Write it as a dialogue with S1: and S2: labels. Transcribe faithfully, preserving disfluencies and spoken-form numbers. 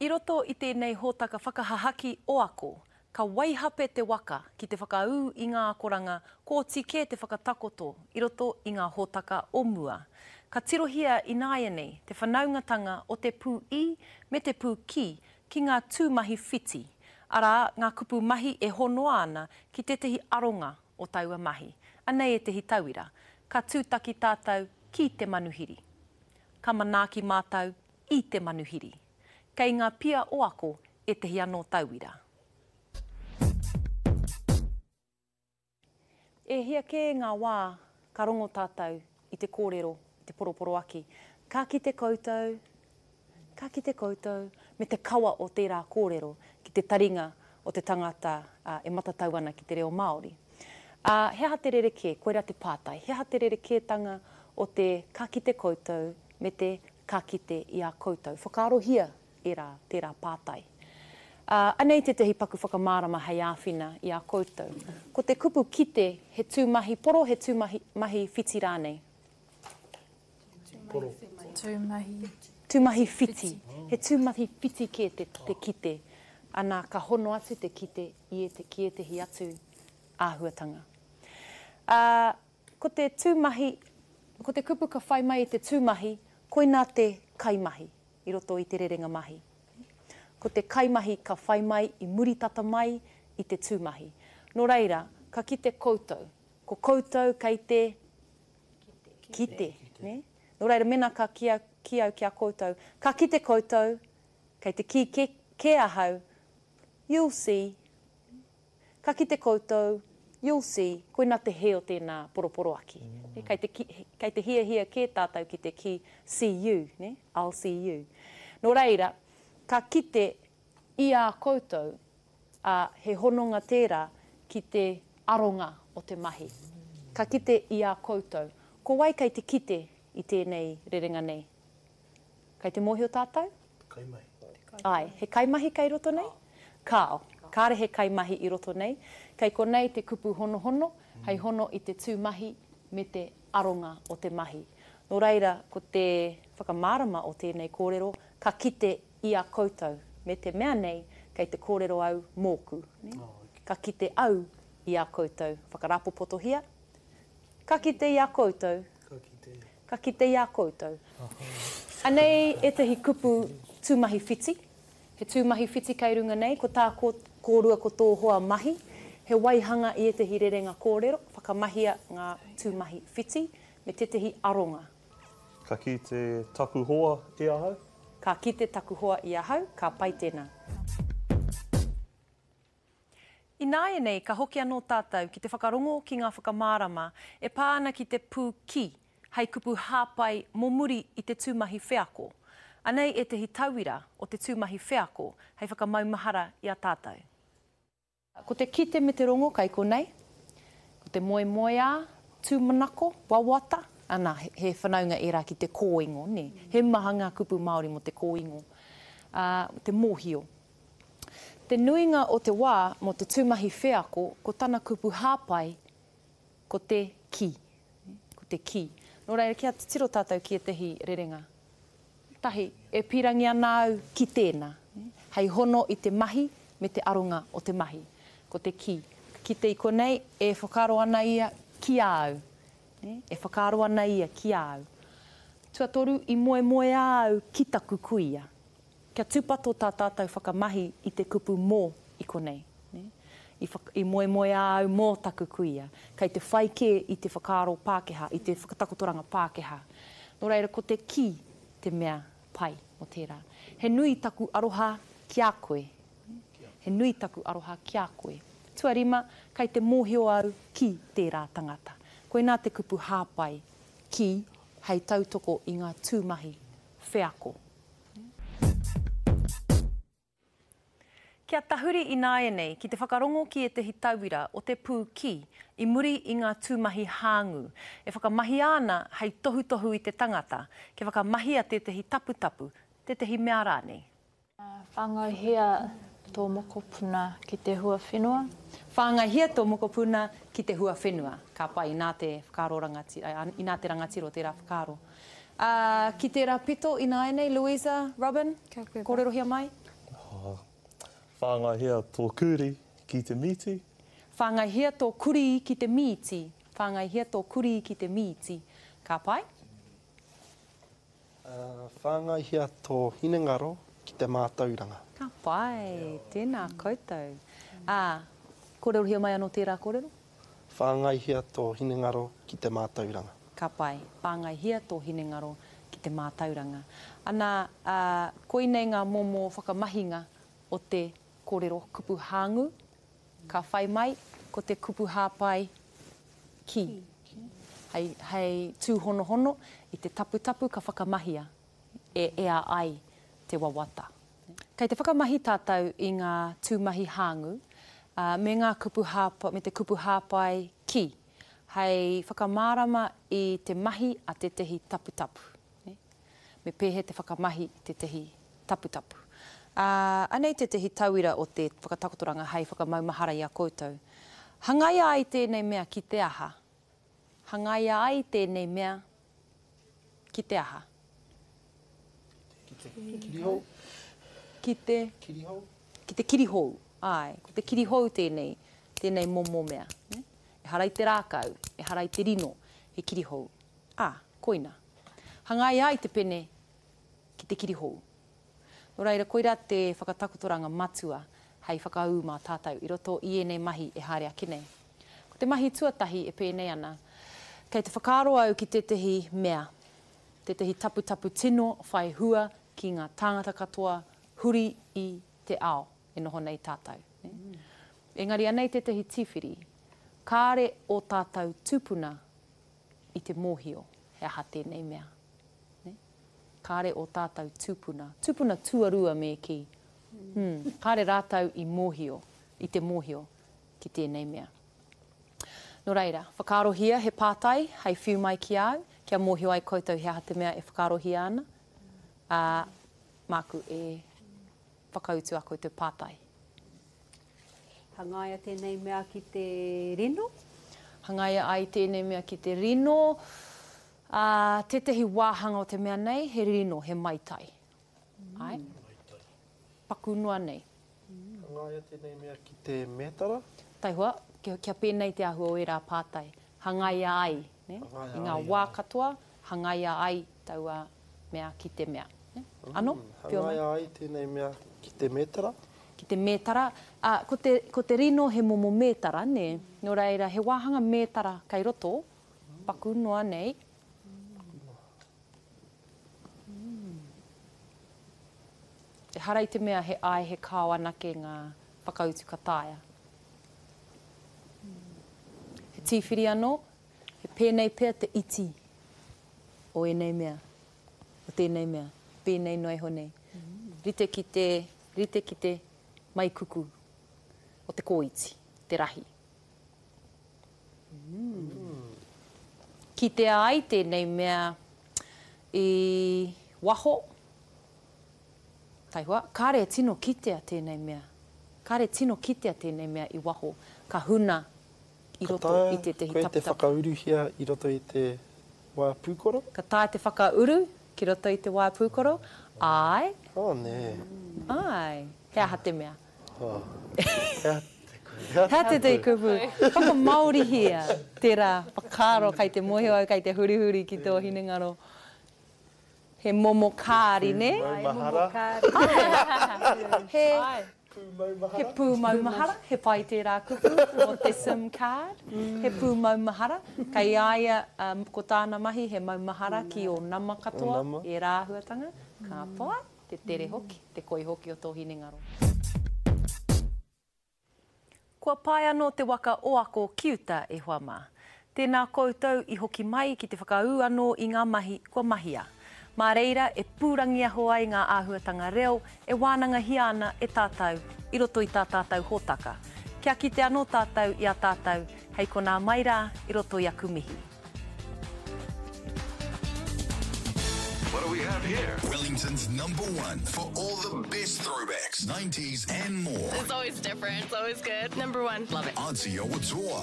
S1: I roto i tēnei hōtaka whakahahaki o Ako, ka waihape te waka ki te whakaū i ngā akoranga kua oti kē te whakatakoto i roto i ngā hōtaka o mua. Ka tirohia ināianei te whanaungatanga o te pū i me te pū ki ki ngā tūmahi whiti, arā, ngā kupu mahi e honoa ana ki tētahi aronga o taua mahi. Anei ētahi tauira. Ka tūtaki tātou ki te manuhiri. Ka manaaki mātou i te manuhiri. Kei ngā pia o Ako ētahi anō tauira. E hia kē ngā wā ka rongo tātou i te kōrero, i te poroporoaki. Ka kite koutou, ka kite koutou, me te kawa o tērā kōrero ki te taringa o te tangata e matatau ana ki te reo Māori. Ā, he aha te rerekē? Koirā te pātai. He aha te rerekētanga o te ka kite koutou me te ka kite i a koutou? Whakaarohia ērā, tērā pātai. Ā, anei tētahi paku whakamārama hei āwhina i a koutou. Ko te kupu kite he tūmahi poro, he tūmahi mahi whiti rānei?
S2: Poro.
S3: Tūmahi.
S1: Tūmahi whiti. He tūmahi whiti kē te, te kite. Ana, ka hono atu te kite i ēte, ki ētehi atu āhuatanga. Ā, ko te tūmahi, ko te kupu ka whai mai i te tūmahi, koinā te kaimahi i roto i te rerenga mahi. Ko te kaimahi ka whai mai i muri tata mai i te tūmahi. Nō reira, ka kite koutou. Ko koutou kei te kite. Kite. Nō reira, mēnā ka kī au, kī au ki a koutou, ka kite koutou, kei te kī kē, kē ahau, you'll see. Ka kite koutou, you'll see, koinā te hē o tēnā poroporoaki. Mm. Kei te, kei te hiahia kē tātou ki te kī, see you, ne? I'll see you. Nō reira, ka kite i a koutou, ā, he hononga tērā ki te aronga o te mahi. Ka kite i a koutou. Ko wai kei te kite i tēnei rerenga nei? Kei te mōhio tātou?
S2: Kaimahi.
S1: Āe, he kaimahi kei roto nei? Kāo, kāre he kaimahi i roto nei. Kei konei te kupu honohono, hei hono i te tūmahi me te aronga o te mahi. Nō reira, ko te whakamārama o tēnei kōrero, ka kite i a koutou, me te mea nei, kei te kōrero au mōku. Ka kite au i a koutou. Whakarāpopotohia. Ka kite i a koutou.
S2: Ka kite.
S1: Ka kite i a koutou. Anei ētahi kupu tūmahi whiti. He tūmahi whiti kei runga nei, ko tā kōrua ko tō hoa mahi, he waihanga i ētahi rerenga kōrero, whakamahia ngā tūmahi whiti, me tētahi aronga.
S4: Ka kite taku hoa i ahau.
S1: Ka kite taku hoa i ahau, ka pai tēnā. Ināianei ka hoki anō tātou ki te whakarongo ki ngā whakamārama e pā ana ki te pū ki, hei kupu hāpai mō muri i te tūmahi wheako. Anei ētahi tauira o te tūmahi wheako hei whakamaumahara i a tātou. Ko te kite me te rongo kei konei, ko te moemoeā, tūmanako, wawata, ana, he whanaunga ērā ki te kōingo, nē. He maha ngā kupu Māori mō te kōingo, ā, te mōhio. Te nuinga o te wā mō te tūmahi wheako, ko tana kupu hāpai, ko te ki. Ko te ki. Nō reira, kia titiro tātou ki ētahi rerenga. Tahi, e pīrangi ana au ki tēnā, hei hono i te mahi me te aronga o te mahi. Ko te ki. Ka kite i konei, e whakaaro ana ia ki a au. E whakaaro ana ia ki a au. Tuatoru, i moemoeā au ki taku kuia. Kia tūpato tā tātou whakamahi i te kupu mō i konei. I, i moemoeā au mō taku kuia. Kei te whai kē i te whakaaro Pākehā, i te whakatakotoranga Pākehā. Nō reira, ko te ki te mea pai mō tērā. He nui taku aroha ki a koe. He nui taku aroha ki a koe. Tuarima, kei te mōhio au ki tērā tangata. Koinā te kupu hāpai, ki, hei tautoko i ngā tūmahi wheako. Kia tahuri ināianei ki te whakarongo ki ētahi tauira o te pū ki i muri i ngā tūmahi hāngū, e whakamahia ana hei tohutohu i te tangata, kia whakamahia tētahi taputapu, tētahi mea rānei.
S3: Whāngaihia tō mokopuna ki te huawhenua.
S1: Whāngaihia tō mokopuna ki te huawhenua. Ka pai, inā te whakaaro rangatira, inā te rangatira o tērā whakaaro. Ā, ki tērā pito ināianei, Louisa, Robin,
S3: Kia koe,
S1: kōrerohia mai.
S4: Uh, whāngaihia tō kurī ki te mīti.
S1: Whāngaihia tō kurī ki te mīti. Whāngaihia tō kurī ki te mīti. Ka pai?
S2: Uh, whāngaihia tō hinengaro ki te mātauranga.
S1: Ka pai, tēnā koutou. Ā, kōrerohia mai anō tērā kōrero?
S2: Whāngaihia tō hinengaro ki te mātauranga.
S1: Ka pai, whāngaihia tō hinengaro ki te mātauranga. Ana, ā, koinei ngā momo whakamahinga o te kōrero kupu hāngū. Ka whai mai, ko te kupu hāpai ki. Hei, hei tūhonohono i te taputapu ka whakamahia e ea ai te wawata. Kei te whakamahi tātou i ngā tūmahi hāngū, ā, me ngā kupu hāpa, me te kupu hāpai ki, hei whakamārama i te mahi a tētehi taputapu. Me pēhea te whakamahi i tētehi taputapu. Ā, anei tētehi tauira o te whakatakotoranga hei whakamaumahara i a koutou. Hangaia ai tēnei mea ki te aha? Hangaia ai tēnei mea ki te aha?
S2: Ki te kirihou.
S1: Ki te
S2: kirihou.
S1: Ki te kirihou, āe. Ko te kirihou tēnei, tēnei momo mea. Ehara i te rākau, ehara i te rino, he kirihou. Ā, koina. Hangaia ai te pene ki te kirihou. Nō reira, koirā te whakatakotoranga matua hei whakaū mā tātou i roto i ēnei mahi e haere ake nei. Ko te mahi tuatahi e pēnei ana, kei te whakaaro au ki tētehi mea, tētehi taputapu tino whai hua ki ngā tāngata katoa huri i te ao e noho nei tātou. Mm. Engari anei tētehi tīwhiri, kāre o tātou tūpuna i te mōhio he aha tēnei mea. Kāre o tātou tūpuna, tūpuna tuarua me kī, hmm, kāre rātou i mōhio, i te mōhio ki tēnei mea. Nō reira, whakaarohia he pātai hei whiu mai ki au, kia mōhio ai koutou he aha te mea e whakaarohia ana, ā, māku e whakautu a koutou pātai.
S5: Hangaia tēnei mea ki te rino?
S1: Hangaia ai tēnei mea ki te rino. Ā, tētehi wāhanga o te mea nei, he rino, he maitai. Ai?
S2: Maitai.
S1: Paku noa nei.
S2: Hangaia tēnei mea ki te mētara?
S1: Taihoa, kia, kia pēnei te āhua o ērā pātai. Hangaia ai, ne?
S2: Hangaia
S1: I ngā
S2: ai,
S1: wā
S2: ai.
S1: katoa, hangaia ai taua mea ki te mea. Ne? Ano?
S2: Mm,
S1: Whio mai.
S2: hangaia ai tēnei mea ki te mētara?
S1: Ki te mētara. Ā, ko te, ko te rino he momo mētara, ne? Nō reira, he wāhanga mētara kei roto, paku noa nei. Ehara i te mea he ai, he kao anake ngā whakautu ka taea. He tīwhiri anō, he pēnei pea te iti o ēnei mea, o tēnei mea, pēnei noa iho nei. Rite ki te, rite ki te maikuku o te kōiti, te rahi. Kitea ai tēnei mea i waho, taihoa, kāre e tino kitea tēnei mea. Kāre tino kitea tēnei mea i waho, ka huna i
S2: Ka
S1: roto
S2: taea
S1: i tētehi
S2: koe te
S1: taputapu.
S2: whakauruhia i roto i te waea pūkoro?
S1: Ka taea te whakauru ki roto i te waea pūkoro? Āe.
S2: Oh, nē.
S1: Āe. He aha te mea?
S2: Oh. He aha te kupu. He
S1: He aha te kupu. Whakamāorihia tērā whakaaro kei te mōhio au, kei te hurihuri ki tō hinengaro. He momo kāri, nē?
S2: Pūmaumahara.
S1: He,
S2: Pūmaumahara.
S1: he pūmaumahara, he pai tērā kupu o te SIM card. He pūmaumahara. Kei a ia, um, ko tāna mahi, he maumahara ki ō nama katoa,
S2: Ō nama.
S1: ērā āhuatanga. Ka pai, te tere hoki, te koi hoki o tō hinengaro. Kua pae anō te waka o ako ki uta e hoa mā. Tēnā koutou i hoki mai ki te whakaū anō i ngā mahi kua mahia. Mā reira e pūrangiaho ai ngā āhuatanga reo e wānangahia ana e tātou i roto i tā tātou hōtaka. Kia kite anō tātou i a tātou hei konā mai rā i roto i aku mihi.
S6: What do we have here?
S7: Wellington's number one for all the best throwbacks, nineties and more.
S8: It's always different. It's always good. Number one. Love it.
S7: Aotearoa.